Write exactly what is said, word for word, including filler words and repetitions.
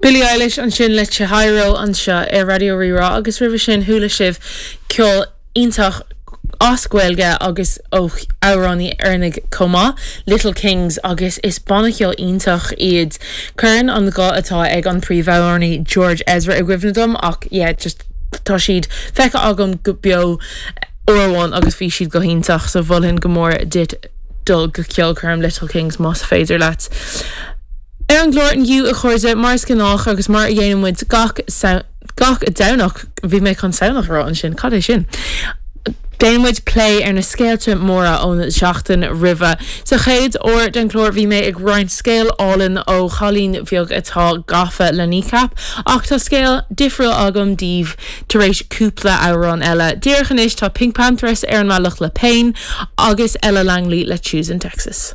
Billie Eilish ansin le Chihiro anseo ar Raidió Rí-Rá agus roimhe sin chuala sibh ceol iontach as Gaeilge agus ó amhránaí Éireannach chomh maith, Little Kings agus is banna ceoil iontach iad. Cuireann an guth atá ag an príomhamhránaí George Ezra i gcuimhne dom ach yeah, just tá siad feicthe agam go beo uair amháin agus bhí siad go hiontach so mholfainn go mór duit dul go ceolchoirm Little Kings más féidir leat. Ar an gclár inniu a chairde mar is gnách agus mar a dhéanann muid gach gach Domhnach bhí mé chun samhnach a rá ansin cad é sin. Déanann muid plé ar na scéalta móra ón seachtain roimhe. Sa chéad uair den chlár bhí mé ag roinnt scéal álainn ó chailín bheag atá gafa le Kneecap, ach tá scéal difriúil agam daoibh tar éis cúpla amhrán eile. Díreach anois tá PinkPantheress ar an mbealach le Pain agus Ella Langley le Choosing Texas.